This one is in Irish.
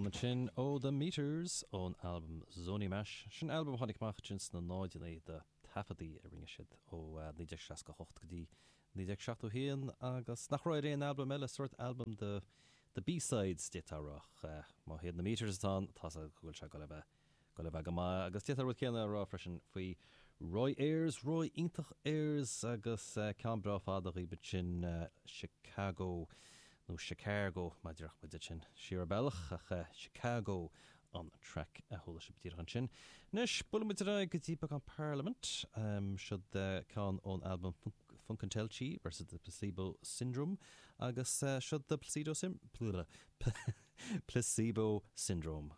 Ceann ansin ó The Meters ón albam Zony Mash. Sin albam a tháinig amach ansin sna náideanna de taifeadtaí a rinne siad ó 1968 go dtí 1971 agus nach raibh ar aon albam eile, sórt albam de de B-sides d'fhéadfá a rá ach má hiad na Meters atá ann tá's agat go bhfuil sé ag dul a bheith Dul a bheith go maith agus d'fhéadfá an rud céanna a rá freisin faoi Roy Ayers, Roy iontach Ayers agus ceann breá fada dhaoibh ansin Chicago nó Chicago mar a déarfadh muid ansin siar an bealach ach Chicago an traic a chuala sibh díreach ansin. Anois buailfidh muid ar aghaidh go dtí beagán Parliament, siod ceann ón albam Funkentelechy versus the Placebo Syndrome agus siod The Placebo Placebo Syndrome.